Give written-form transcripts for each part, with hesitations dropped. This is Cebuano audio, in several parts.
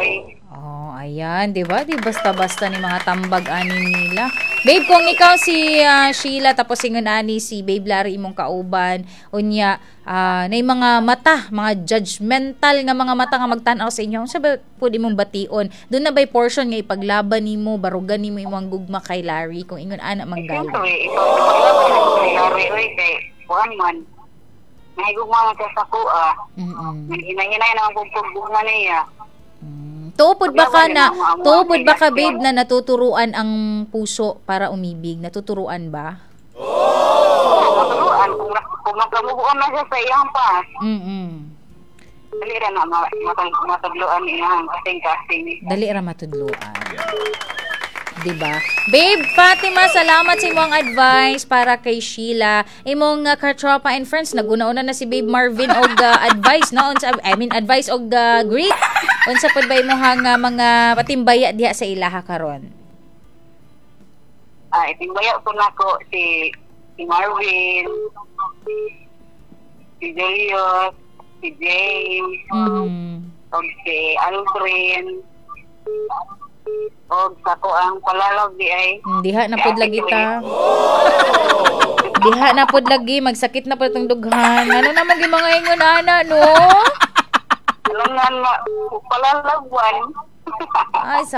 Oy. Oh, ayan, 'di ba? Di basta-basta ni mga tambag ani nila. Babe, kung ikaw si Sheila, tapos ingon ani si Babe Larry imong kauban, unya nay mga mata, mga judgmental nga mga mata nga magtan-aw sa inyo. Unsa ba pud imong bation? Doon na bay portion nga ipaglaban nimo, barugan nimo imong gugma kay Larry kung ingon ana manggaling? Siyempre, ipaglaban na ko kay Larry, oy, kay kuan man. Nahigugma man siya sa kuha. Hinay-hinay na ang pagpugma niya. Tuo pud ba ka na, tuo pud ba ka, babe, na natuturuan ang puso para umibig? Natuturuan ba? Oo, maturuan. Kung magkamubuan na siya sa iyang pas, dali ra na matudloan iyang kasing-kasing. Dali ra matudloan. Diba? Babe Fatima, salamat sa imong advice para kay Sheila. Imong katropa and friends, naguna-una na si Babe Marvin og advice, no? Unsa, I mean, advice og greet. Unsa pud ba imong mga patimbaya diha sa ilaha karon? Itimbaya ko nako si Marvin, si Julius, si James, og si Aldrin, og sa ko ang palalog di ay. Diha na pud lagi ta. Diha na pud lagi, magsakit na pud itong dughan. Ano naman gi mga ingon ana, no? Alam nga palalagwan. Ay, sa.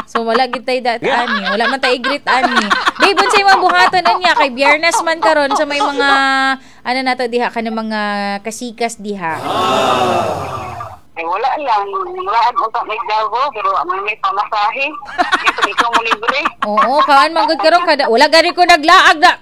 So wala gid tay dat ani, wala man tay greet ani. Babe, unsay imong buhaton anya kay Biyernes man karon sa may mga ano nato diha kanang mga kasikas diha? Ay, wala lang. Wala ang may gago, pero may pamasahe. Ito, ikaw mo libre. Oo, kaan man gud karon kada wala gani ko naglaag na.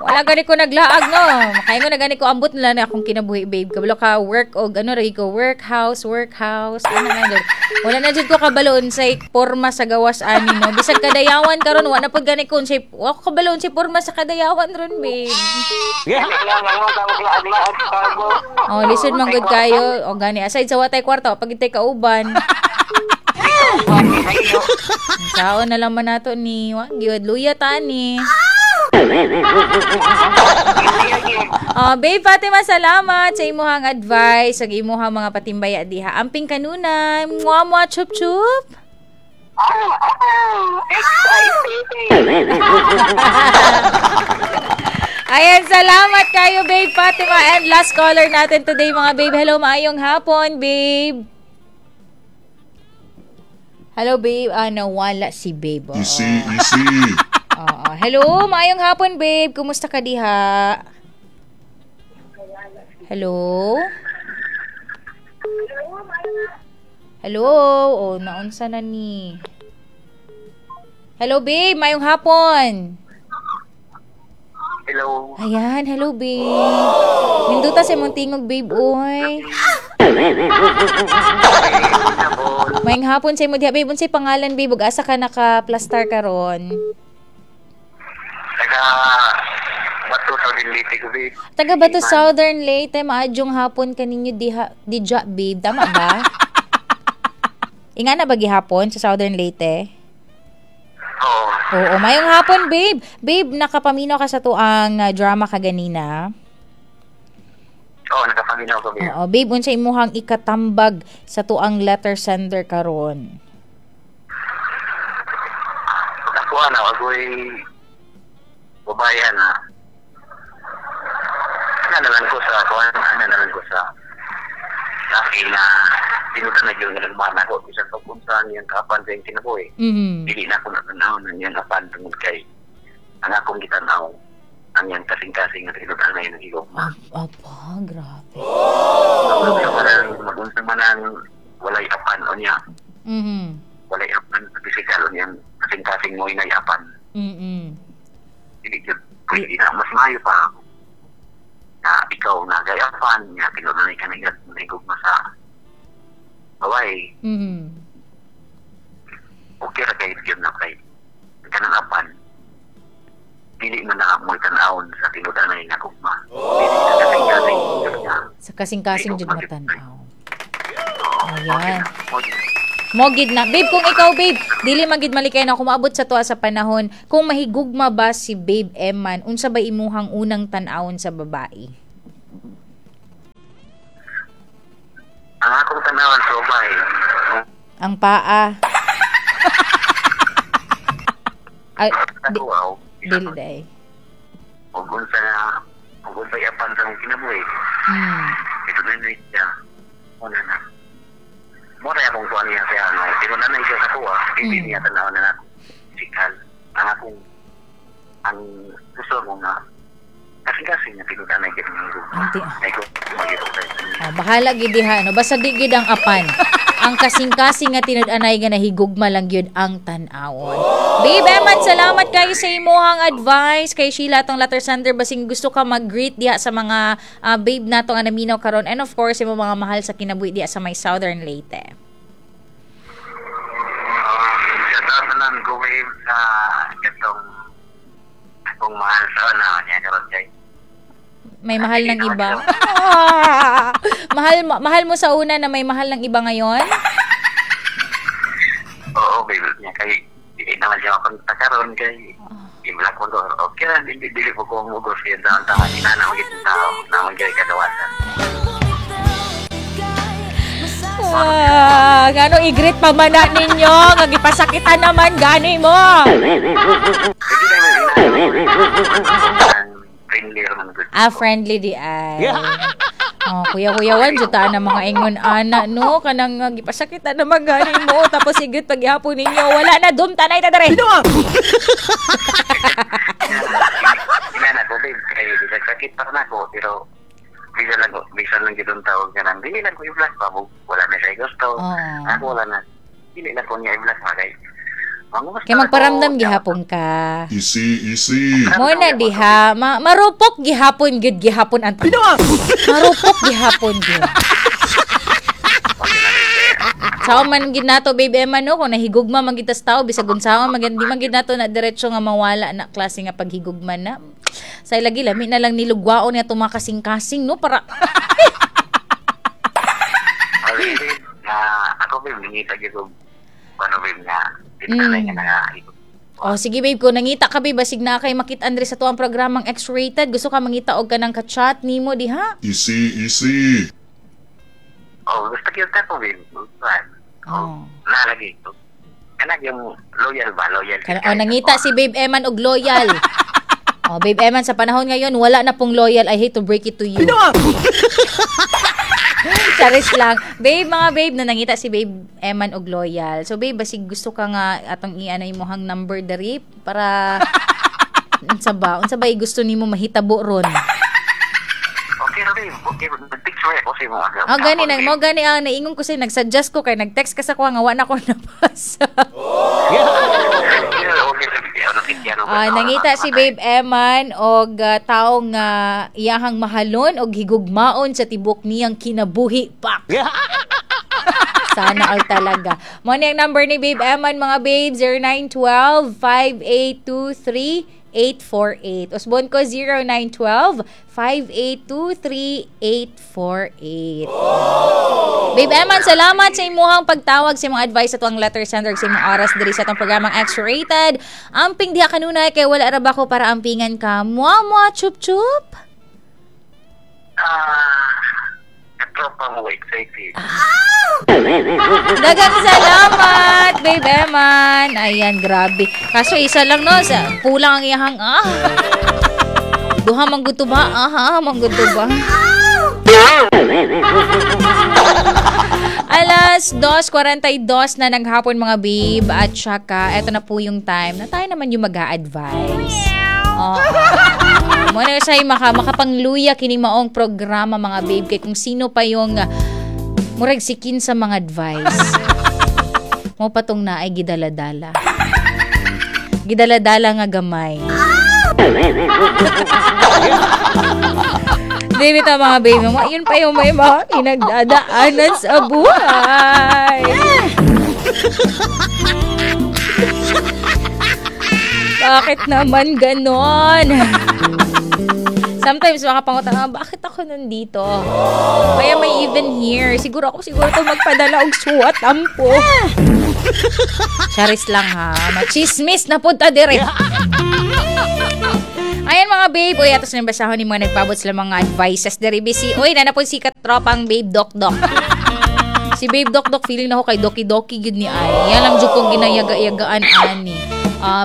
Wala gani ko naglaag, no. Makaingon na gani ko, ambot na lang na akong kinabuhi, babe. Kabalo ka work og ano ra ko, work house, work house. Ano na jud. Wala na jud ko kabalo unsay porma sa gawas ani, no. Bisag kadayawan karon wa na pud gani ko unsay, wa ko kabalo unsay porma sa kadayawan ron, babe. Oh, lisod man gud kayo. O gani aside sa watay kwarta, pag itay kauban. Saon na lang man nato ni wa gyud luya tani. Babe Fatima, salamat sa imuhang advice, sa imuhang mga patimbaya diha. Amping kanunay. Mua mua chup chup. Ayan, salamat kayo, Babe Fatima. And last caller natin today, mga babe. Hello, maayong hapon, babe. Hello, babe. Nawala si babe. Oh. Easy, easy. Oo. Hello, maayong hapon, babe. Kumusta ka diha? Hello? Hello? Oh, naunsa na ni. Hello, babe. Maayong hapon. Hello. Ayan, hello, babe. Ninduta sa imong tingog, babe, oy. Maayong hapon sa imo diha, babe. Unsay pangalan, babe? Ug asa ka naka-plastar karon? Taga Bato Southern Leyte ko, babe. Taga Bato Southern Leyte, maadyong hapon kaninyo diha didya, babe. Tama ba? Inga na ba gihapon sa Southern Leyte? Oo. Oo, mayong hapon, babe. Babe, nakapaminaw ka sa tuang drama kaganina? Oo, nakapaminaw ko, babe. Oo, babe, unsa imuhang ikatambag sa tuang letter sender karon? Ako na, agoy babae na. Nanalan ko sa kuan, nanalan ko sa akin na tinutan na yun nga nagmana ko. Bisan pag kung saan yung kapan sa yung kinabuhi. Dili na ako natanaw na niyang apan tungod kay ang akong gitanaw ang niyang kasing-kasing nga tinutan na yun ang higugma. Apa, grabe. Magunsa man ang walay apan o niya. Walay apan sa physical o niyang kasing-kasing mo inay apan. Dili yun. Pwede na, mas mayo pa ako na ikaw na gayapan niya, tinunay ka na higugma sa babae. Okay ra kayo yun na kay kanang apan. Dili man na mo'y tanawon sa tinudanay nga gugma. Dili sa kasing-kasing jud nga. Sa kasing-kasing jud matanaw. Ayan. Mogid na. Babe, kung ikaw, babe, dili magid malikay na kung maabot sa tuwa sa panahon, kung mahigugma ba si Babe Eman, unsa ba imuhang unang tan-awon sa babae? tanawan sa ubay. Ang paa. Ay, dili day. Ug unsa na ug unsa apan sa imong kinabuhi. Ito na na siya. Una na. Mo ra akong kuan niya siya no. Pero na siya sa kuha, hindi niya tanawan na ako. Physical. Ang akong ang gusto ko nga kasi nga tinutanay gid ni. Ay ko magito. Oh, bahala gid diha no, basta di gid ang apan. Ang kasing-kasing nga tinud-anay nga nahigugma lang gyud ang tan-awon. Babe Eman, salamat kayo sa imuhang advice kay Sheila atong letter sender. Basing gusto ka mag-greet diha sa mga babe nato nga naminaw karon and of course imong mga mahal sa kinabuhi diha sa may Southern Leyte. Sa tanan ko babe sa katong akong mahal sa una niya karon kay may mahal ng iba. Mahal mo sa una na may mahal ng iba ngayon? Oo, baby. Niya kay di naman siya makontak karon kay i-block ko. Okay lang, dili po ko mugos yan sa tama inana mo gid tao naman kay kadawasan. Ngano i-greet pa man na ninyo, nga gipasakitan naman gani mo. Friendly man gud. Ah, friendly di ay. Oh, kuya-kuyawan jud ta na mga ingon ana no, kanang gipasakitan naman gani mo tapos i-greet paghapon ninyo. Wala na dum tanay ta dere. Inana ko babe kay sakit pa na ko pero bisan lang gid ang tawag kanang dili lang ko i-vlog pa wala na siya gusto. Ako wala na. Dili lang ko niya i-vlog pa kay Kay magparamdam gihapon ka. Easy, easy. Mo na diha, marupok gihapon gyud gihapon ang marupok gihapon gyud. Sao man gid nato babe Emma no, kung nahigugma man gid tas tao bisag unsaon man gid di man gid nato na diretso nga mawala na klase nga paghigugma na. Say lagi lami na lang nilugwaon nga tumakasing-kasing no para na ako babe nangita gyud og ano babe nga Oh, sige babe, kung nangita ka babe, basig na kay makit Andre sa tuang programang X-rated. Gusto ka mangita og kanang ka-chat nimo diha? Easy, easy. Oh, gusto gyud ta ko babe. Oh. Nalagi to. Kanang yung loyal ba, loyal. Oh, nangita si Babe Eman og loyal. Oh, Babe Eman, sa panahon ngayon wala na pong loyal. I hate to break it to you. Charis lang. Babe, mga babe, na nangita si Babe Eman og loyal. So, babe, basig gusto ka nga atong i-ano imong number diri para unsa ba gusto nimo mahitabo ron? Okay ra babe. Okay, nag-text ra ko sa imo. Oh, gani nang mo gani ang naingon ko say nag-suggest ko kay nag-text ka sa kuha nga wa na ko nabasa. Nangita si Babe Eman og tawo nga iyahang mahalon og higugmaon sa tibok niyang kinabuhi pak. Sana all talaga. Mo ni ang number ni Babe Eman mga babe, 0912 5823 848. Usbon ko 0912 5823 848. Babe Eman, salamat sa imuhang pagtawag, sa imong advice at ang letter sender sa imong oras diri sa atong programang X-Rated. Amping diha kanunay kay wala ra ba ko para ampingan ka. Mua mua chup chup. Katropa mo excited. Daghang salamat, Babe Eman. Ayan, grabe. Kaso isa lang no, sa pulang ang iyahang ah. Duha man gud ba? Aha, man gud ba? Alas 2:42 na ng hapon mga babe, at saka eto na po yung time na tayo naman yung mag-a-advise. Oo. Muna siya makapangluya kini maong programa mga babe, kay kung sino pa yung murag sikin sa mga advice. Mo patong na ay gidaladala. Gidaladala nga gamay. Baby ta mga baby mo, yun pa yung may mga pinagdadaanan sa buhay. Bakit naman ganon? Sometimes makapangutan, bakit ako nandito? Why am I even here? Siguro ako to magpadala og suwat ampo. Charis lang ha. Machismis na punta dire. Ayan mga babe. Uy, atos na basahon ni mga nagpabot sila mga advices diri busy. Uy, nanapon si katropang babe Doc Doc. Si Babe Dok Dok feeling na ako kay Doki Doki gyud ni ay. Yan lang jud kong ginayaga-yagaan ani.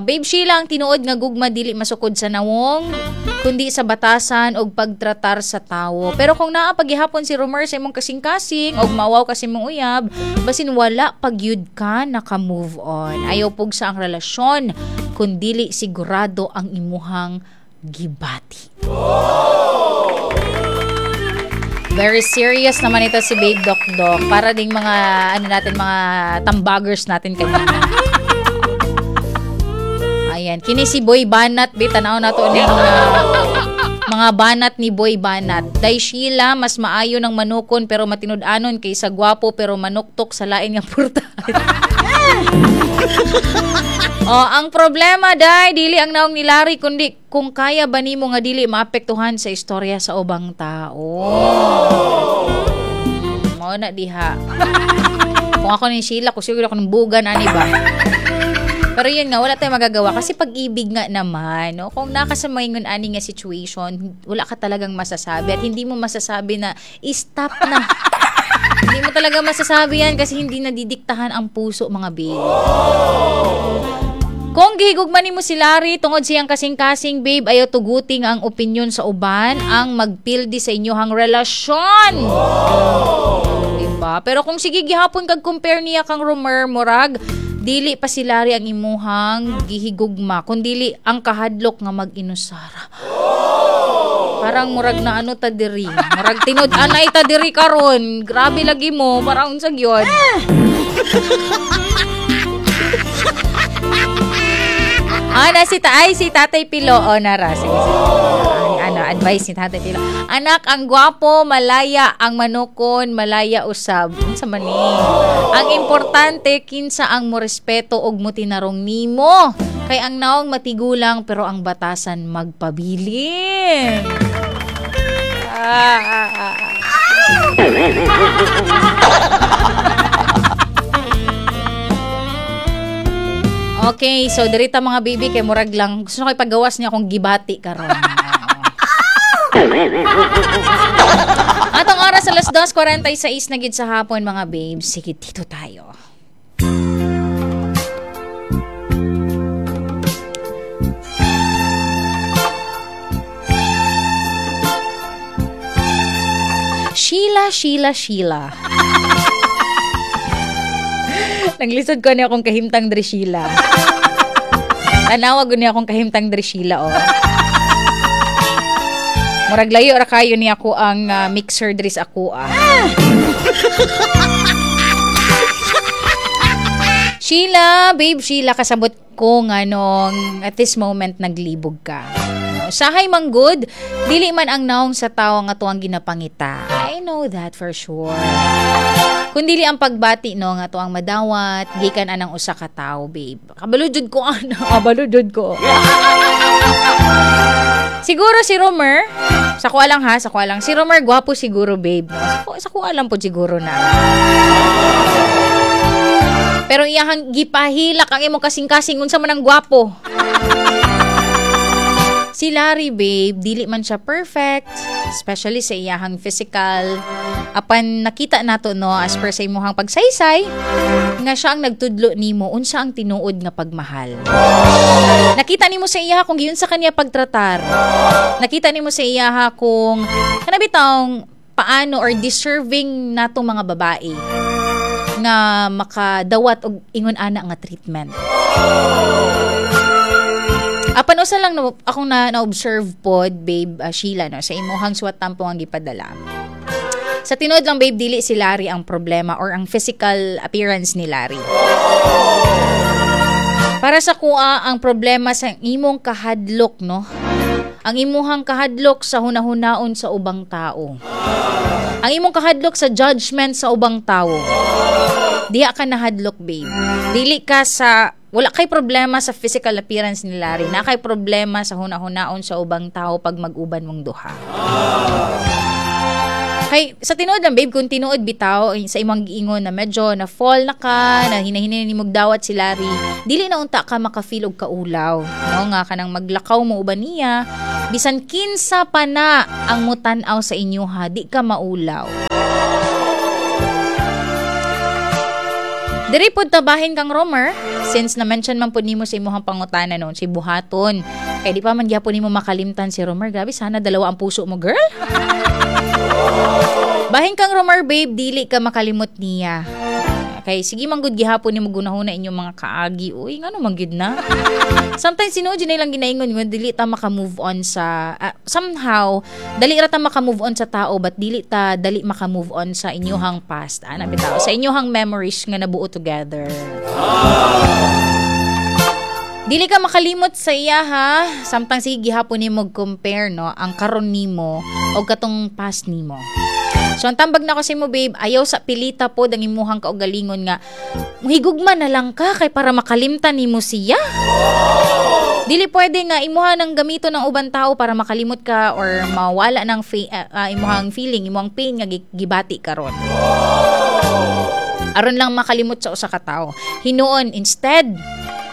Babe Sheila, ang tinuod nga gugma dili masukod sa nawong kundi sa batasan og pagtratar sa tawo. Pero kung naa pagihapon si Romer sa imong kasing-kasing og mawaw kasi imong uyab, basin wala pagyud ka naka-move on. Ayaw pugsa ang relasyon kun dili sigurado ang imuhang gibati. Very serious naman ito si Babe Dok Dok. Para ding mga ano natin, mga tambagers natin kanina. Ayan, kini si Boy Banat, be tanaw na to ning mga banat ni Boy Banat. Day Sheila, mas maayo ng manukon pero matinud-anon kaysa gwapo pero manuktok sa lain nga purta. Oh, ang problema day dili ang naong ni Larry kundi kung kaya ba nimo nga dili maapektuhan sa istorya sa ubang tao. Mao na diha. Kung ako ni Sheila, kung siguro ako ng bugan ani ba. Pero yun nga, wala tayong magagawa kasi pag-ibig nga naman, no? Kung naka sa maingon ani nga situation, wala ka talagang masasabi at hindi mo masasabi na stop na. Hindi mo talaga masasabi yan kasi hindi nadidiktahan ang puso, mga babe. Kung gihigugma nimo si Larry tungod siyang kasing-kasing, babe, ayaw tuguting ang opinion sa uban ang magpildi sa inyohang relasyon. Diba? Pero kung sige gihapon kag compare niya kang Romer, murag dili pa si Larry ang imuhang gihigugma, kundili ang kahadlok nga mag-inusara. Parang murag na ano ta diri. Murag tinud anay ta diri karon. Grabe lagi mo, parang unsa gyud. Ana si ay si Tatay Pilo o nara sige sige. Ano advice ni Tatay Pilo. Anak, ang gwapo malaya, ang manukon malaya usab. Unsa man ni? Ang importante kinsa ang morespeto og motinarong nimo. Kay ang naong matigulang pero ang batasan magpabilin. Okay, so dirita mga baby kay murag lang gusto ko ipagawas niya akong gibati karon. Atong oras alas 2:46 na gid sa hapon mga babes. Sige, dito tayo. Sheila, Sheila, Sheila. Naglisod ko niya akong kahimtang diri Sheila. Tanawag ko niya akong kahimtang diri Sheila, oh. Murag layo ra kayo niya ako ang mixer diri sa ako, ah. Sheila, babe Sheila, kasabot ko nganong at this moment naglibog ka. Sahay man good, dili man ang naong sa tawo nga tuwang ginapangita. I know that for sure. Kun dili ang pagbati no nga tuwang madawat, gikan anang usa ka tawo, babe. Kabalo jud ko ano, kabalo jud ko. Siguro si Romer, sa kuha lang ha, sa kuha lang. Si Romer gwapo siguro, babe. Sa kuha lang po siguro na. Pero iyahang gipahilak ang imong kasing-kasing unsa man ang gwapo. Si Larry, babe, dili man siya perfect, especially sa iyahang physical. Apan nakita nato no as per sa imuhang pagsaysay nga siya ang nagtudlo nimo unsa ang tinuod nga pagmahal. Nakita nimo sa iyaha kung giunsa kaniya pagtratar. Nakita nimo sa iyaha kung kanabitawng paano or deserving natong mga babae nga makadawat og ingon ana nga treatment. Apan usa lang no, akong na-observe pod, babe, Sheila, no, sa imuhang suwat tampo ang gipadala. Sa tinuod lang, babe, dili si Larry ang problema or ang physical appearance ni Larry. Para sa kuha, ang problema sa imong kahadlok, no? Ang imuhang kahadlok sa hunahunaon sa ubang tao. Ang imong kahadlok sa judgment sa ubang tao. Diha ka nahadlok, babe. Dili ka sa wala kay problema sa physical appearance ni Larry. Na kay problema sa hunahunaon sa ubang tao pag mag-uban mong duha. Kay sa tinuod lang, babe, kung tinuod bitaw sa imong giingon na medyo na fall na ka, na hinahina ni mugdawat si Larry, dili na unta ka maka-feel og kaulaw. No nga kanang maglakaw mo uban niya, bisan kinsa pa na ang mutan-aw sa inyo ha, di ka maulaw. Diri pud tabahin kang Romer, since na-mention man pud nimo sa imuhang pangutana noon, si buhaton. Kay di pa man gyapon nimo makalimtan si Romer. Grabe, sana dalawa ang puso mo, girl. Bahin kang Romer, babe, dili ka makalimot niya. Kay sige man gud gihapon nimo gunahuna inyong mga kaagi. Uy, ngano man gud na. Sometimes sinuod jud ilang ginaingon nga dili ta maka-move on sa somehow dali ra ta maka-move on sa tao, but dili ta dali maka-move on sa inyuhang past. Ana bitaw, sa inyuhang memories nga nabuo together. Dili ka makalimot sa iya ha. Samtang sige gihapon nimo compare no ang karon nimo og katong past nimo. So ang tambag na ko sa imo, babe, ayaw sa pilita pod ang imuhang kaugalingon nga muhigugma na lang ka kay para makalimtan nimo siya. Dili pwede nga imuha nang gamito ng ubang tao para makalimot ka or mawala ng imuhang feeling, imuhang pain nga gibati karon. Aron lang makalimot sa usa ka tawo. Hinuon instead,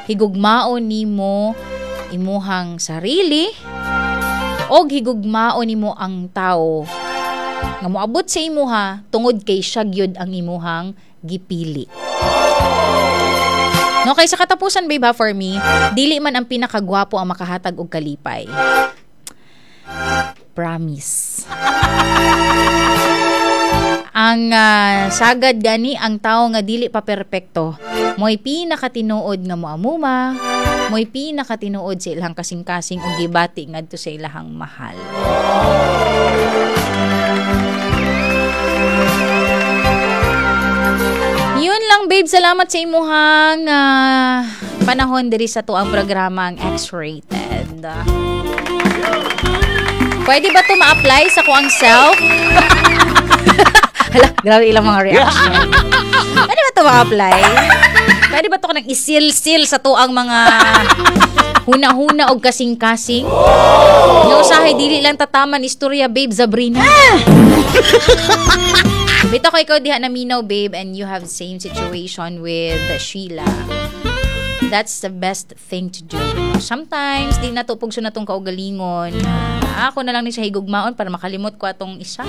higugmaon nimo imuhang sarili og higugmaon nimo ang tao nga moabot sa imuha tungod kay siya gyud ang imuhang gipili. No, kay sa katapusan, babe, ha, for me, dili man ang pinakagwapo ang makahatag og kalipay. Promise. Ang sagad gani ang tao nga dili pa perpekto, mo'y pinakatinuod nga moamuma, mo'y pinakatinuod sa ilang kasing-kasing og gibati ngadto sa ilahang mahal. Yun lang, babe. Salamat sa imuhang panahon diri sa tuang programa ang X-Rated. Pwede ba ito ma-apply sa kuang self? Hala, grabe ilang mga reaction. Pwede ba ito ma-apply? Pwede ba ito kanang isil-sil sa tuang mga huna-huna og kasing-kasing? Nga usahay, dili lang tataman istorya, babe, Sabrina. Bito ko ikaw diha naminaw, babe, and you have same situation with Sheila. That's the best thing to do. Sometimes, di na to pugso na tong kaugalingon. Ako na lang ni siya higugmaon para makalimot ko atong isa.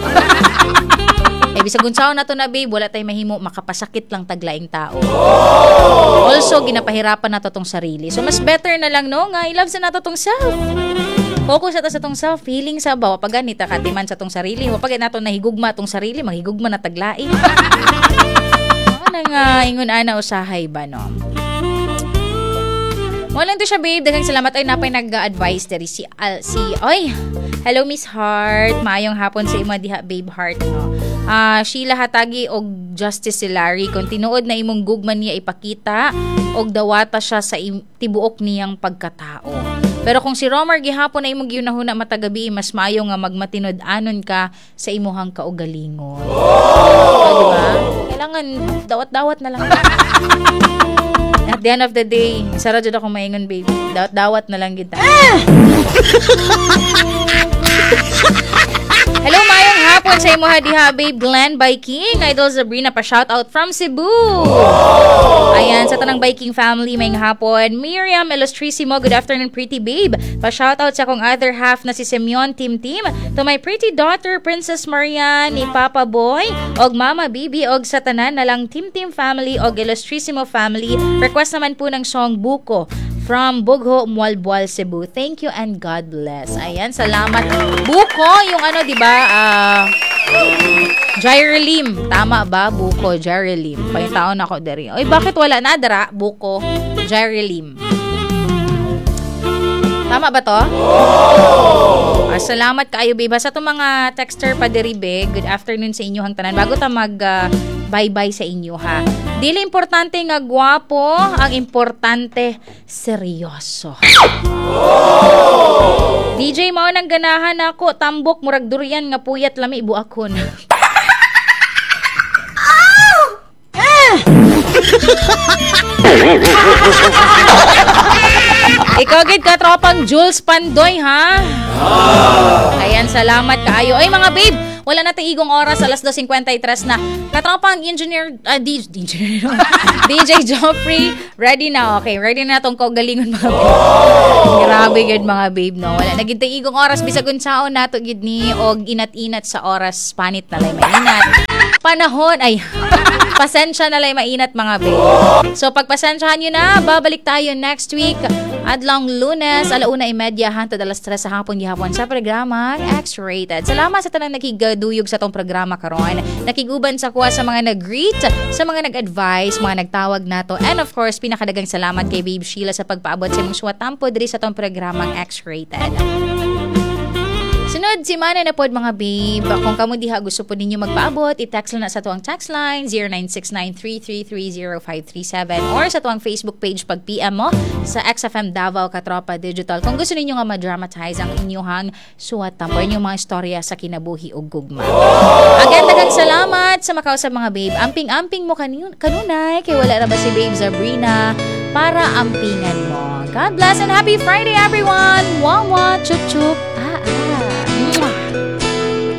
Eh, bisag unsaon na to na, babe, wala tay mahimo, makapasakit lang taglaing tao. Also, ginapahirapan na to tong sarili. So, mas better na lang, no? Nga, i-love sa nato tong self. Focus sa tong self, feeling sa ba, wapag ganita katiman sa tong sarili, wapag nato nahigugma tong sarili, maghigugma na taglaing. Ano nga, ingon ana usahay ba, no? Wala to siya, babe. Daghang salamat. Ay, napay nag-advise diri si oy. Hello, Miss Heart. Maayong hapon sa imo diha, babe Heart, no. Sheila, hatagi og justice si Larry kung tinuod na imong gugma niya ipakita og dawata siya sa tibuok niyang pagkatao. Pero kung si Romer gihapon na imong gihunahuna matagabi, mas maayo nga magmatinud-anon ka sa imuhang kaugalingon. Oh! Diba? Kailangan dawat-dawat na lang. At the end of the day, sara jud ako maingon, babe. Dawat-dawat na lang kita. Hello, mayong hapon sa imo diha, babe Glenn Biking. Idol Sabrina, pa shout out from Cebu. Ayan, sa tanang Biking family, mayong hapon. Miriam Illustrissimo, good afternoon, pretty babe. Pa shout out sa akong other half na si Simeon Tim Tim. To my pretty daughter, Princess Marian, ni Papa Boy, og Mama Bibi, og sa tanan na lang Tim Tim family, og Illustrissimo family. Request naman po ng song Buko from Bugho, Mualbual, Cebu. Thank you and God bless. Ayan, salamat. Buko, yung ano, di ba? Jairelim. Tama ba? Buko, Jairelim. Pahitaon ako diri. Oy, bakit wala na dara? Buko, Jairelim. Tama ba to? Salamat kaayo, babe. Sa itong mga texter pa diri, be. Good afternoon sa inyo hang tanan. Bago ta mag bye-bye sa inyo, ha. Dili importante nga gwapo, ang importante seryoso. DJ mao nang ganahan ako, tambok murag durian nga puyat lami buakon. Ikaw gid ka tropang Jules Pandoy, ha? Ayan, salamat kaayo. Ay mga babe, wala na tayong igong oras, alas 2:53 na. Katropang engineer, DJ, DJ Joffrey, ready na, okay. Ready na tong kaugalingon mga babe. Grabe gid mga babe, no? Wala na gid tayong igong oras, bisag unsaon nato gid ni og inat-inat sa oras, panit na lay mainat. Panahon, ay. Pasensya na lang mainat, mga babe. So pagpasensyahan nyo na, babalik tayo next week. Adlong Lunes, 1:30 hantod 3:00 sa hapon gihapon sa programang X-Rated. Salamat sa tanang nakigduyog sa tong programa karon. Nakiguban sa kuha, sa mga nag-greet, sa mga nag-advise, mga nagtawag nato. And of course, pinakadagang salamat kay Babe Sheila sa pagpaabot sa imong suwatampo diri sa tong programang X-Rated. Sunod semana na pod, mga babe. Kung kamo diha gusto po ninyo magpaabot, i-text lang na sa tuang text line 0969-3330537 or sa tuang Facebook page, pag PM mo sa XFM Davao Katropa Digital. Kung gusto ninyo nga ma-dramatize ang inyong suwatampo, inyong mga istorya sa kinabuhi ug gugma. Again, daghang salamat sa makausap, mga babe. Amping-amping mo kanunay kay wala ra ba si Babe Sabrina para ampingan mo. God bless and happy Friday, everyone! Mwah, mwah, chup chup. Ah, ah.